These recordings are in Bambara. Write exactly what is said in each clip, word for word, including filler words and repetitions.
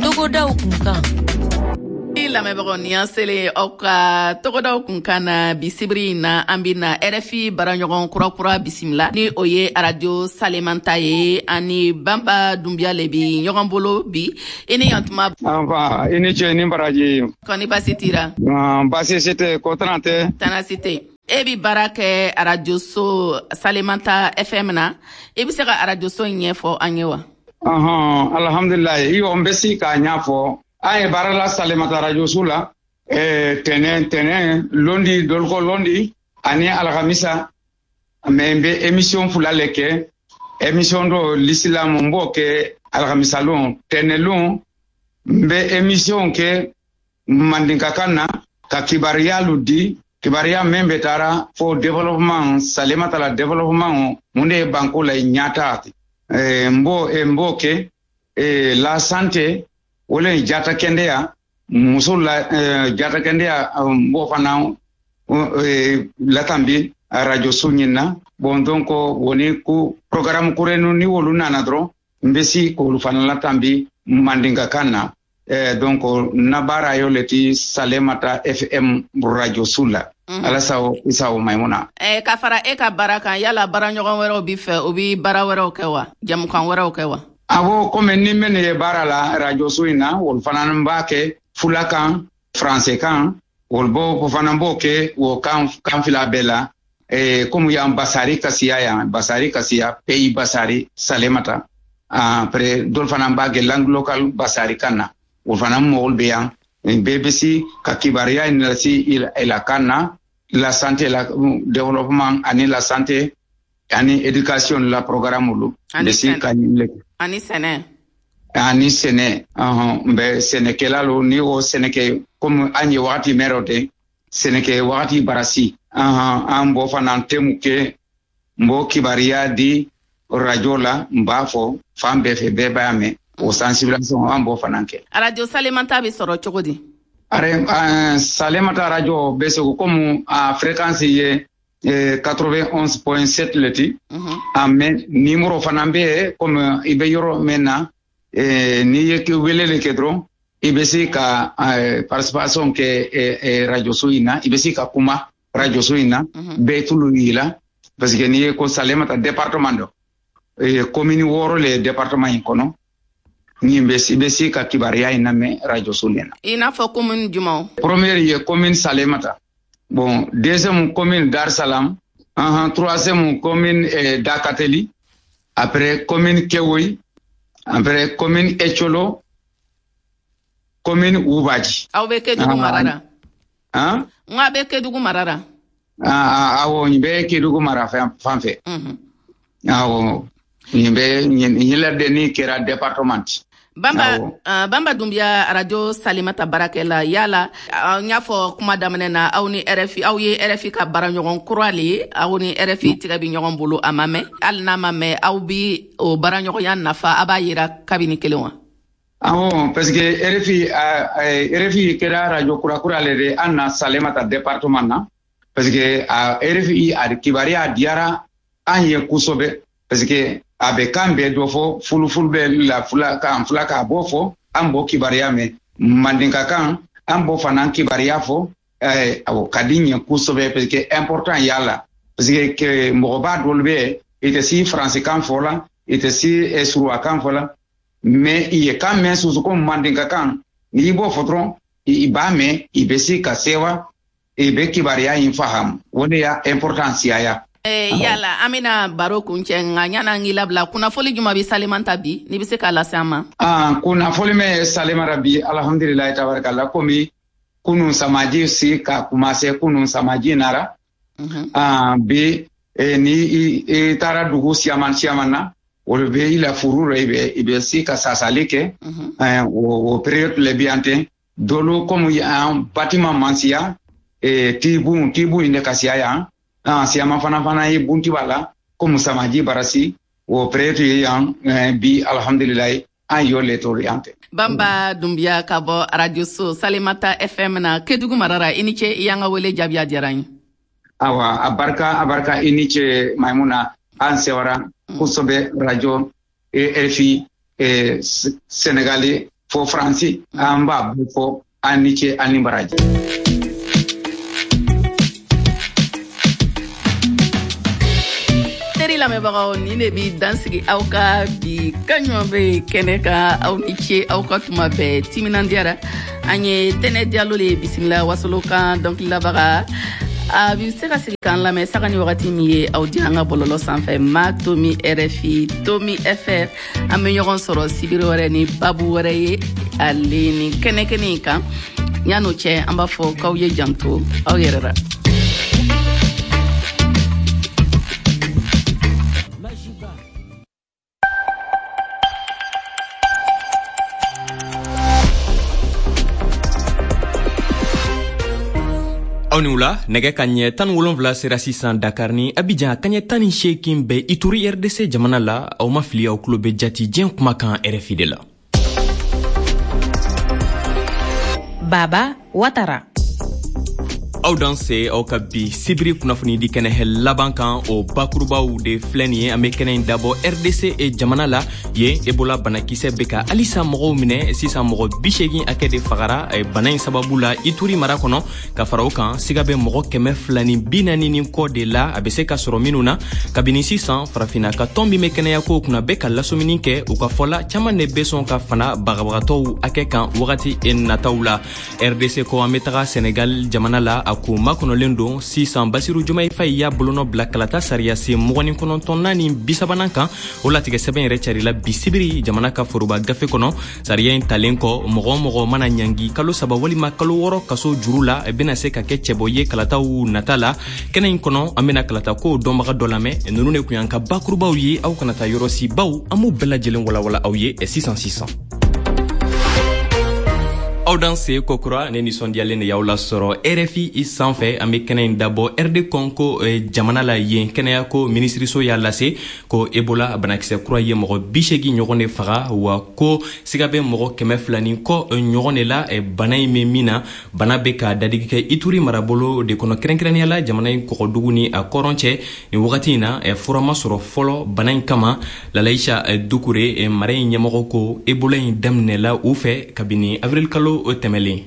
Togodaw kunkan. I lamɛnbagaw, ni an selen aw ka togodaw kunkan na bi sibiri in na, an bɛna R F I baaraɲɔgɔn kurakura bisimila, ni o ye Arajo Salemanta ye. Ani Banba Dunbiya le bi ɲɔgɔn bolo bi. I ni yantuma. Anfa, i ni ce ni baraji. Kɔni basi tira? Baasi si tɛ, ko tana tɛ. Tana si tɛ. E bi baara kɛ arajoso Salemanta F M na. I bɛ se ka arajoso in ɲɛfɔ an ye wa? Ɔhɔn, alhamdulilayi. Iyo, n bɛ se k'a ɲɛfɔ. An ye baara la Salemata arajoso la eh, tɛnɛ tɛnɛ londi, dolko londi ani alhamisa. Mais n bɛ émission fila le kɛ. Émission dɔ, l'islam, n b'o kɛ alhamisa lon. Tɛnɛ lon, n bɛ émission kɛ mandinkakan na ka kibaruyalu di, kibaruya min bɛ taara fo développement, Salemata la développement, mun de ye banko la ɲata. eh, n b'o n b'o kɛ. eh, la santé, o le ye jata kɛnɛya, muso la eh, jata kɛnɛya, n b'o fana eh, latambi radio so ɲin na. Bon, donc woni ko programme kurenu ni wolu nana dɔrɔn, n bɛ si k'olu fana latambi mandinkakan na. eh, donc na baara yo le ti Salemata F M radio su la. mm -hmm. Ala sago i sago, Maimuna. Eh, ka fara e ka baara kan, yala baaraɲɔgɔn wɛrɛw b'i fɛ, o bi baara wɛrɛw kɛ wa, jamukan wɛrɛw kɛ wa? Awɔ, komi ni minnu ye baara la radio so in na, olu fana b'a kɛ fulakan, français kan, olu b'o fana b'o kɛ o kan kan fila bɛɛ la. eh, komi yan basari ka siya, yan basari ka siya, pays basari Salemata. Après, dɔw fana b'a kɛ langue locale basari kan na. O fana mɔgɔw bɛ yan, bɛɛ bɛ se ka kibaruya in lase i la kan na. La santé, la développement ani la santé ani éducation la programme olu Ani bɛ se ka ɲin. Ani sɛnɛ. Ani sɛnɛ, ɔhɔn, n bɛ sɛnɛkɛla lo. Ni o sɛnɛkɛ, komi an ye wagati mɛn dɔ tɛ sɛnɛkɛ wagati barasi, ɔhɔn, an b'o fana temu kɛ. N b'o kibaruya di radio la, n b'a fɔ fan bɛɛ fɛ, bɛɛ b'a mɛn. O sensibilisation, an b'o fana kɛ. Arajo Salemanta bɛ sɔrɔ cogo di? Are, uh, Salemata radio bɛ segu komi a fréquence ye eh, quatre-vingt-onze point sept le ti. Mm -hmm. A mais numéro fana bɛ yen. Komi i bɛ yɔrɔ min na, eh, n'i ye weleli kɛ dɔrɔn, i bɛ se ka eh, participation kɛ eh, eh, radio so in na, i bɛ se ka kuma radio so in na. mm -hmm. Bɛɛ tulu y'i la, parce que n'i ye ko Salemata département dɔ, eh, commune wɔɔrɔ le ye département in kɔnɔ. Ni bɛ i bɛ se ka kibaruya in lamɛn radio so nin na. I n'a fɔ commune jumɛnw? Première ye commune Salemata, bon, deuxième commune Dar Salam, uh -huh, troisième commune eh, Dakateli, après commune Kewoy, après commune Echolo, commune Ubaji. Aw bɛ Kedugu mara la? Han? N ko a bɛ Kedugu mara la. Ah, awɔ, nin bɛ Kedugu mara fan fɛ. Awɔ, nin bɛ nin la ni kɛra département. Bamba, uh, Bamba Dunbiya, Arajo Salimata baarakɛla, yala n y'a fɔ kuma daminɛ na, aw ni R F I, aw ye R F I ka baaraɲɔgɔn kura le ye. Aw ni R F I tigɛ bi ɲɔgɔn bolo, a ma mɛn. Hali n'a ma mɛn, aw bi o baaraɲɔgɔnya nafa, a b'a yira kabini kelen wa? Awɔ, parce que R F I R F I kɛra radio kurakura le de an na Salemata département na, parce que a R F I a kibaruya diyara an ye kosɛbɛ, parce que a bɛ kan bɛɛ dɔ fɔ, fulufulu bɛ la, fula kan, fula k'a b'o fɔ, an b'o kibaruya mɛn. Mandinka kan, an b'o fana kibaruya fɔ. Ɛɛ awɔ, ka di ɲɛ kosɛbɛ, parce que important y'a la, parce que mɔgɔba dɔw bɛ yen, i tɛ si faransikan fɔ la, i tɛ si suruwakan fɔ la, mais i ye kan mɛn soso ko mandinka kan, n'i b'o fɔ dɔrɔn, i b'a mɛn, i bɛ se ka sewa, i bɛ kibaruya in fahamu. O de y'a importance ya. Eh, yala an bɛna baro kuncɛ, nka ɲana n k'i labila, kunnafoli juma bi Salemanta bi, n'i bɛ se k'a lase an ma? Ah, kunnafoli min ye Salemata bi, alhamdulilayi tabarikala, komi kunun samaji si ka commencé, kunun samaji nara. mm -hmm. Ah, bi eh, ni i, i taara dugu siaman siaman na, olu bɛ i la furu rɔ, i bɛ i bɛ se ka sasali kɛ. mm -hmm. eh, o, o période le bi yan ten. Dolu komi an bâtiment man siya, eh, tibun tibun in de ka siya yan. Ah, siyama fana fana ye bunti b'a la, komi samaji barasi, o période ye yan. eh, bi alhamdulilayi, an y'o le to yan tɛ. Bamba Dunbiya ka bɔ radio so Salemata F M na Kedugu marara, i ni ce, i y'an ka wele jaabi, a diyara n ye. Awa, a barika, a barika, i ni ce Maimuna. An sewara kosɛbɛ radio R F I Senegali. fo Faransi, an b'a bɛɛ fɔ an ni ce an ni baraji. Teri lamɛnbagaw, nin de bi dansigi aw ka bi kaɲuman bɛ kɛnɛ kan. Aw ni ce aw ka tuma bɛɛ timinandiyara. An ye Tɛnɛ Jalo le bisimila wasolo kan dɔnkililabaga. A bi se ka sigi k'an lamɛn saga ni wagati min ye aw di an ka bɔlɔlɔ sanfɛ ma tomi R F I tomi F R. An bɛ ɲɔgɔn sɔrɔ sibiri wɛrɛ ni babu wɛrɛ ye ale ni kɛnɛ kɛnɛ in kan. Yan'o cɛ, an b'a fɔ k'aw ye janto aw yɛrɛ la. Aw ni wula. Nɛgɛ ka ɲɛ tan ni wolonfila sera sisan Dakar ni Abijan, ka ɲɛ tan ni seegin bɛ Ituri, R D C jamana la. Aw ma fili, aw tulo bɛ jati diɲɛ kumakan R F I de la. Baba Watara. Aw danse aw ka bi sibiri kunnafonidi kɛnɛ laban kan. O bakurubaw de filɛ nin ye. An be kɛnɛ in dabɔ R D C jamana la. Yen, Ebola banakisɛ be ka halisa mɔgɔw minɛ. Sisan, mɔgɔ bisegin hakɛ de fagara bana in sababu la Ituri mara kɔnɔ. Ka fara o kan, siga bɛ mɔgɔ kɛmɛ fila ni bi naani ni kɔ de la a be se ka sɔrɔ minnu na. Kabini sisan, Farafina ka tɔn min be kɛnɛyako kunna bɛ ka lasɔmini kɛ. U ka fɔla, caaman de be sɔn ka fana bagabagatɔw hakɛ kan wagati nataw la. R D C kɔ, an be taga Senegal jamana la. A ko makɔnɔlen don sisan. Basiru Jomayi Fayi y'a bolonɔ bila kalata sariya sen mugan ni kɔnɔntɔnnan ni bisabanan kan. O latigɛ sɛbɛn yɛrɛ carila bi sibiri jamana ka foroba gafe kɔnɔ. Sariya in talen kɔ, mɔgɔ o mɔgɔ mana ɲangi kalo saba walima kalo wɔɔrɔ kaso juru la, bɛna se ka kɛ cɛbɔ ye kalataw nata la. Kɛnɛ in kɔnɔ, an bɛna kalata ko dɔnbaga dɔ lamɛn. Ninnu de kun y'an ka bakurubaw ye. Aw kana taa yɔrɔ si, baw an b'u bɛɛ lajɛlen walawala aw ye sisan sisan. Aw danse kokura. Ne nisɔndiyalen de y'aw lasɔrɔ R F I sanfɛ. An be kɛnɛ in dabɔ R D Congo jamana la. Yen, kɛnɛyako minisiriso y'a lase ko Ebola banakisɛ kura ye mɔgɔ bisegi ɲɔgɔn de faga, wa ko siga bɛ mɔgɔ kɛmɛ fila ni kɔ ɲɔgɔn de la bana in bɛ min na. Bana bɛ ka dadigi kɛ Ituri marabolo de kɔnɔ, kɛrɛnkɛrɛnnenya la jamana in kɔgɔdugu ni a kɔrɔn cɛ. Nin wagati in na, fura ma sɔrɔ fɔlɔ bana in kama. Lalaisa Dukure, mara in ɲɛmɔgɔ, ko Ebola in daminɛla u fɛ kabini avril kalo tɛmɛlen.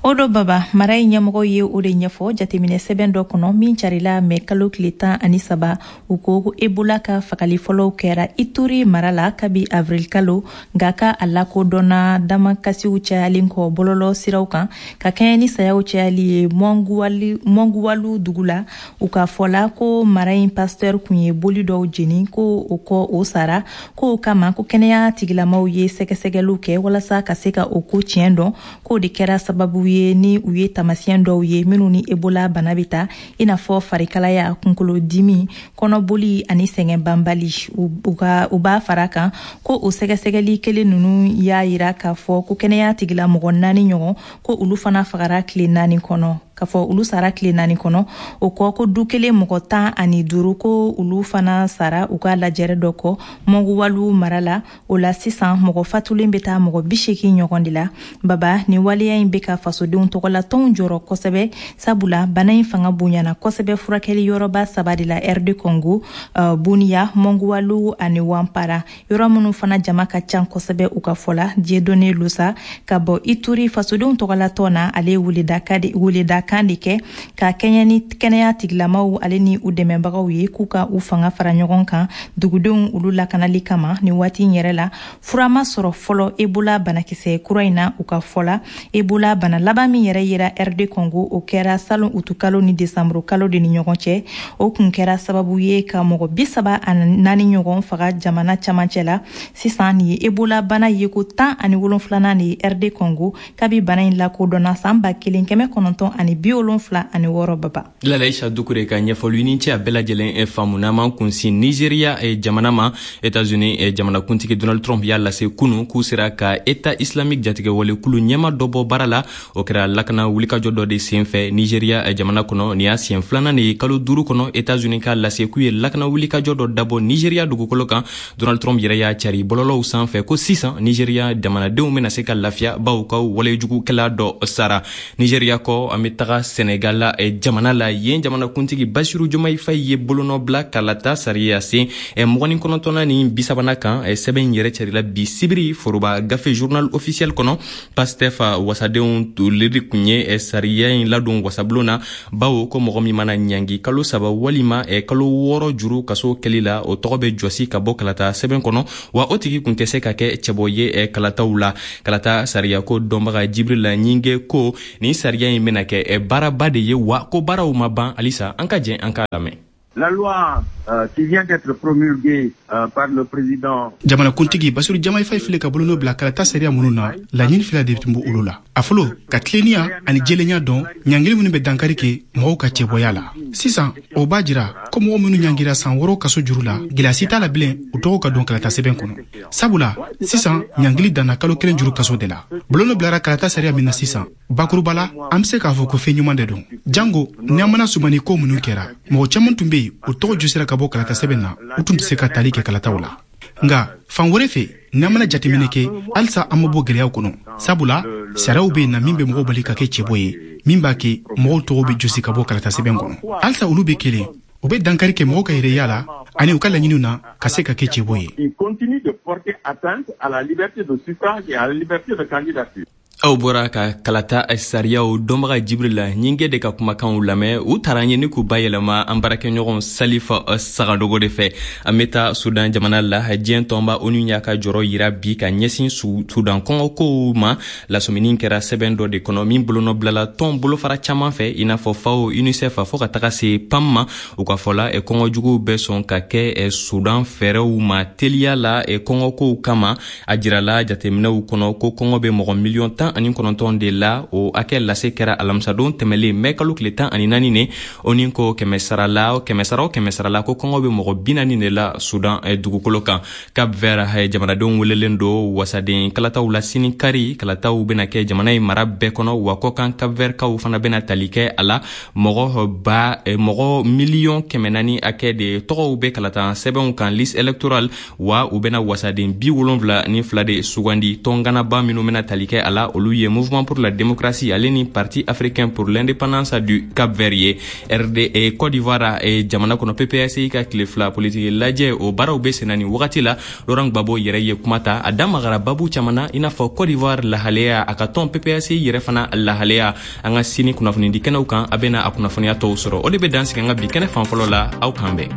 O do Baba, mara in ɲɛmɔgɔ ye o de ɲɛfɔ jateminɛ sɛbɛn dɔ kɔnɔ min carila mɛ kalo tile tan ani saba. U ko ko Ebola ka fagali fɔlɔw kɛra Ituri mara la kabi avril kalo, nka ka a lakodɔnna damakasiw cayalen kɔ bɔlɔlɔ siraw kan ka kɛɲɛ ni sayaw cayali ye Mɔnguwalu dugu la. U ka fɔla ko mara in pasteur kun ye boli dɔw jeni, ko o kɔ o sara. Ko o kama ko kɛnɛya tigilamaw ye sɛgɛsɛgɛliw kɛ walasa ka se ka o ko tiɲɛ dɔn, k'o de kɛra sababu ye ni u ye tamasiyɛn dɔw ye minnu ni Ebola bana bɛ ta, i n'a fɔ farikalaya, kunkolodimi, kɔnɔboli ani sɛgɛn banbali. U ka u b'a fara kan ko o sɛgɛsɛgɛli kelen ninnu y'a yira k'a fɔ ko kɛnɛya tigilamɔgɔ naani ɲɔgɔn, ko olu fana fagara tile naani kɔnɔ, k'a fɔ olu sara tile naani kɔnɔ. O kɔ, ko du kelen mɔgɔ tan ani duuru, ko olu fana sara u ka lajɛrɛ dɔ kɔ Mɔnguwalu mara la. O la sisan, mɔgɔ fatulen bɛ taa mɔgɔ bi seegin ɲɔgɔn de la. Baba, nin waleya in bɛ ka fasodenw tɔgɔlatɔnw jɔrɔ kosɛbɛ, sabula bana in fanga bonyana kosɛbɛ furakɛli yɔrɔba saba de la R D Congo, uh, Buniya, Mɔnguwalu ani Wanpara, yɔrɔ minnu fana jama ka ca kosɛbɛ. U ka fɔ la, Dieudonné Lusa ka bɔ Ituri fasodenw tɔgɔlatɔn na, ale ye weledakan de kɛ ka kɛɲɛ ni kɛnɛya tigilamaw ale ni u dɛmɛbagaw ye, k'u ka u fanga fara ɲɔgɔn kan dugudenw olu lakanali kama. Nin waati in yɛrɛ la, fura ma sɔrɔ fɔlɔ Ebola banakisɛ kura in na. U ka fɔ la, Ebola bana laban min yɛrɛ yera R D Congo, o kɛra salon utukalo ni desanburu kalo de ni ɲɔgɔn cɛ. O kun kɛra sababu ye ka mɔgɔ bi saba ani naani ɲɔgɔn faga jamana camancɛ la. Sisan, nin ye Ebola bana yeko tan ani wolonfilanan de ye R D Congo kabi bana in lakodɔnna san ba kelen kɛmɛ kɔnɔntɔn ani bi wolonfila ani wɔɔrɔ, Baba. Lalaisa Dukure ka ɲɛfɔli ni cɛ, a bɛɛ lajɛlen faamu. N'an kunsin Nigeria jamana ma, Etats-Unis jamanakuntigi Donald Trump y'a lase kunu k'u sera ka État islamique jatigɛwale kulu ɲɛma dɔ bɔ baara la. O kɛra lakana wulikajɔ dɔ de sen fɛ Nigeria jamana kɔnɔ. Nin y'a siɲɛ filanan de ye kalo duuru kɔnɔ, Etats-Unis k'a lase k'u ye lakana wulikajɔ dɔ dabɔ Nigeria dugukolo kan. Donald Trump yɛrɛ y'a cari bɔlɔlɔw sanfɛ ko sisan Nigeria jamanadenw bɛna se ka lafiya, baw ka walejugukɛla dɔ sara. Nigeria kɔ, an bɛ taga Senegal la jamana la. Yen jamanakuntigi Bassirou Diomaye Faye ye bolonɔ bila kalata sariya sen mugan ni kɔnɔntɔnnan ni bi sabanan kan. Sɛbɛn in yɛrɛ carila bi sibiri foroba gafe journal officiel kɔnɔ. Pastef wasadenw olu kun ye sariya in ladon wasabulon na, bawo ko mɔgɔ min mana ɲangi kalo saba walima kalo wɔɔrɔ juru kaso kɛli la, o tɔgɔ bɛ jɔsi ka bɔ kalata sɛbɛn kɔnɔ, wa o tigi kun tɛ se ka kɛ cɛbɔ ye kalataw la. Kalata sariya ko dɔnbaga Jibril Ɲinge ko nin sariya in bɛna kɛ baaraba de ye, wa ko baaraw ma ban halisa. An ka jɛn an k'a lamɛn. La loi euh, qui vient d'être promulguée euh, par le président Jamanakuntigi Bassirou Diomaye Faye filɛ ka bolonɔ bila kalata sariya minnu na, laɲini fila de tun b'olu la. A fɔlɔ, ka tilennenya ani jɛlenya dɔn ɲangili minnu bɛ dankari kɛ mɔgɔw ka cɛbɔya la. Sisan o b'a jira ko mɔgɔ minnu ɲangira san wɔɔrɔ kaso juru la, gɛlɛya si t'a la bilen u tɔgɔ ka don kalata sɛbɛn kɔnɔ, sabula sisan ɲangili danna kalo kelen juru kaso de la. Bolonɔ bilara kalata sariya min na sisan, bakuruba la, an bɛ se k'a fɔ ko fɛn ɲuman de don, jango n'an mana sumani ko minnu kɛra. Mɔgɔ caman tun bɛ yen, o tɔgɔ jɔsira ka bɔ kalata sɛbɛn na, u tun tɛ se ka tali kɛ kalataw la. Nka fan wɛrɛ fɛ, n'an mana jateminɛ kɛ, halisa an ma bɔ gɛlɛyaw kɔnɔ, sabula sariyaw bɛ yen na min bɛ mɔgɔw bali ka kɛ cɛbɔ ye, min b'a kɛ mɔgɔw tɔgɔ bɛ jɔsi ka bɔ kalata sɛbɛn kɔnɔ. Halisa olu bɛ kelen, o bɛ dankari kɛ mɔgɔw ka yɛrɛya la ani u ka laɲiniw na ka se ka kɛ cɛbɔ ye. Il continue de porter atteinte à la liberté de suffrage et à la liberté de candidature. Aw bɔra ka kalata sariyaw dɔnbaga Jibril Ɲinge de ka kumakanw lamɛn. U taara ɲɛ ni k'u bayɛlɛma an baarakɛɲɔgɔn Salifa Sagadogo de fɛ. An bɛ taa Sudan jamana la. Diɲɛ tɔnba ONU y'a ka jɔrɔ yira bi ka ɲɛsin Sudan kɔngɔkow ma. Lasɔmini kɛra sɛbɛn dɔ de kɔnɔ min bolonɔ bilala tɔn bolofara caman fɛ, i n'a fɔ FAO, UNICEF, fo ka taga se PAM ma. U ka fɔ la, kɔngɔjuguw bɛ sɔn ka kɛ Sudan fɛɛrɛw ma teliya la kɔngɔkow kama. A jirala jateminɛw kɔnɔ ko kɔngɔ bɛ mɔgɔ miliyɔn tan ani kɔnɔntɔn de la. O hakɛ lase kɛra alamisadon tɛmɛlen mɛ kalo tile tan ani naani ne. O ni ko kɛmɛ sara la, kɛmɛ sara o kɛmɛ sara la, ko kɔngɔ bɛ mɔgɔ bi naani de la Sudan dugukolo kan. Cap Vert jamanadenw welelen don wasaden kalataw la sini kari. Kalataw bɛna kɛ jamana in mara bɛɛ kɔnɔ, wa kɔkan Cap Vert kaw fana bɛna tali kɛ a la. Mɔgɔ ba mɔgɔ miliyɔn kɛmɛ naani hakɛ de tɔgɔw bɛ kalata sɛbɛnw kan, liste électorale, wa u bɛna wasaden bi wolonwula ni fila de sugandi. Tɔnganaba minnu bɛna tali kɛ a la, olu ye Mouvement pour la démocratie ale ni Parti africain pour l'indépendance du Cap Vert ye. R D Côte d'Ivoire jamana kɔnɔ, P P A C I ka tile fila politiki lajɛ, o baaraw bɛ senna nin wagati la. Laurent Gbagbo yɛrɛ ye kuma ta, a da magara babu caman na, i n'a fɔ Côte d'Ivoire lahalaya, a ka tɔn P P A C I yɛrɛ fana lahalaya. An ka sini kunnafonidi kɛnɛw kan, a bɛna a kunnafoniya tɔw sɔrɔ. O de bɛ dan sigi an ka bi kɛnɛ fan fɔlɔ la. Aw k'an bɛn.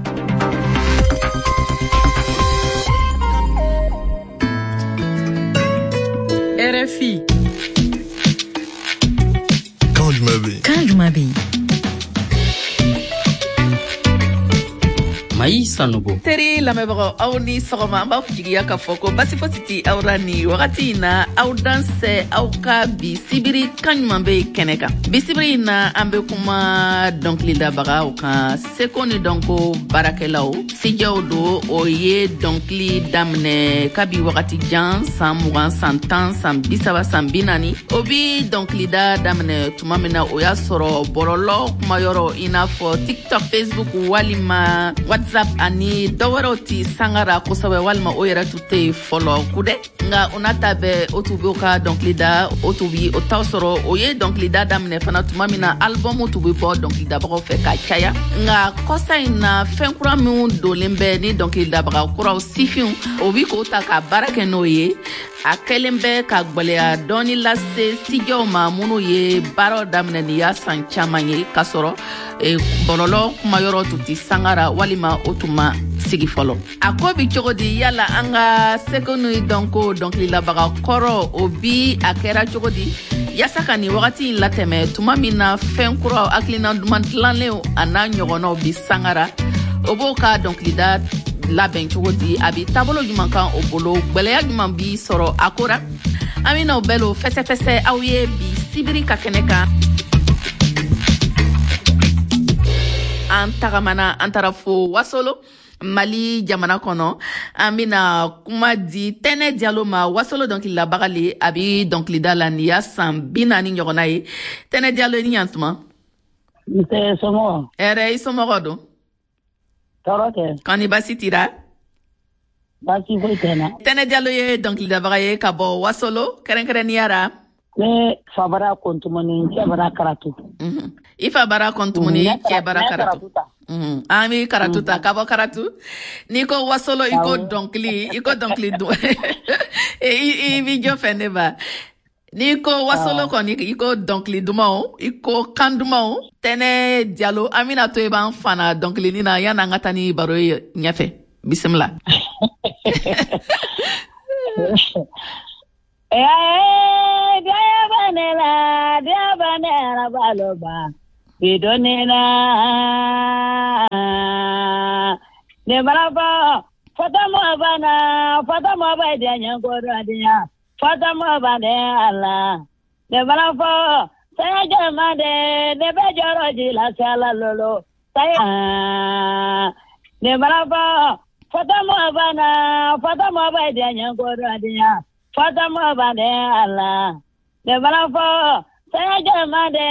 R F I. Kan jumɛn bɛ yen? Kan jumɛn bɛ yen? Mayi Sanogo. Teri lamɛnbagaw, aw ni sɔgɔma. An b'a jigiya k'a fɔ ko basi fosi ti aw la nin wagati in na. Aw dansɛ aw ka bi sibiri kan ɲuman bɛ kɛnɛ kan. Bi sibiri in na, an bɛ kuma dɔnkilidabagaw kan, seko ni dɔnko baarakɛlaw, sijɛw don. O ye dɔnkili daminɛ kabi wagati jan, san mugan, san tan, san bi saba, san bi naani. O bi dɔnkilida daminɛ tuma min na, o y'a sɔrɔ bɔlɔlɔ kumayɔrɔ, i n'a fɔ TikTok, Facebook walima WhatsApp ani dɔwɛrɛw ti sangara kosɛbɛ, walima o yɛrɛ tun tɛ yen fɔlɔ kudɛ. Nka o n'a ta bɛɛ, o tun b'o ka dɔnkili da, o tun bi o t'aw sɔrɔ. O ye dɔnkilida daminɛ fana tuma min na, albɔmu tun bɛ bɔ dɔnkilidabagaw fɛ ka caya. Nka kɔsa in na, fɛn kura minnu donlen bɛ ni dɔnkilidabaga kuraw, sifinw, o bi k'o ta ka baara kɛ n'o ye. A kɛlen bɛ ka gwɛlɛya dɔɔni lase sijɛw ma minnu ye baaraw daminɛ nin y'a san caman ye, k'a sɔrɔ bɔlɔlɔ kumayɔrɔ tun ti sangara walima o tun ma sigi fɔlɔ. A ko bi cogo di? Yala an ka seko ni dɔnko dɔnkililabaga kɔrɔ, o bi a kɛra cogo di yaasa ka nin wagati in latɛmɛ, tuma min na fɛn kuraw, hakilina duman dilanlenw a n'a ɲɔgɔnnaw bi sangara? O b'o ka dɔnkilida labɛn cogo di? A bi taabolo ɲuman kan o bolo? Gwɛlɛya ɲuman bi sɔrɔ a ko ra? An bɛna o bɛɛ lo fɛsɛfɛsɛ aw ye bi sibiri ka kɛnɛ kan. An tagamana, an taara fo Wasolo, Mali jamana kɔnɔ. An bɛna kuma di Tɛnɛ Jalo ma, Wasolo dɔnkililabaga le. A bi dɔnkilida la nin y'a san bi naani ɲɔgɔnna ye. Tɛnɛ Jalo, i ni ɲantuma. Nse, somɔgɔw? Hɛrɛ. I somɔgɔw don? Tɔɔrɔ tɛ. Kɔni baasi t'i ra? Baasi foyi tɛ n na. Tɛnɛ Jalo ye dɔnkilidabaga ye ka bɔ Wasolo, kɛrɛnkɛrɛnnenya ra Ne fa bara Kɔntumani, n cɛ bara Karatu. I fa bara Kɔntumani, i cɛ bara Karatu. An bɛ Karatu ta ka bɔ Karatu. N'i ko wasolo, i ko dɔnkili, i ko dɔnkili dun. I b'i jɔ fɛ ne ba. N'i ko wasolo kɔni, i ko dɔnkili dumanw, i ko kan dumanw. Tɛnɛ Jalo, an bɛna to i b'an fana dɔnkilinin na yanni an ka taa ni baro ye ɲɛfɛ. Bisimila. Eh, dia banela, dia banela baloba, bidonela. Ne balaba, fatama bana, fatama ba dia nyangoro dia, fatama bane ala. Ne balaba, saya jamade, ne bejoro jila sala lolo. Saya ne balaba, fatama bana, fatama ba dia nyangoro dia. Fatama bane ala, ne balafo, saya jamade.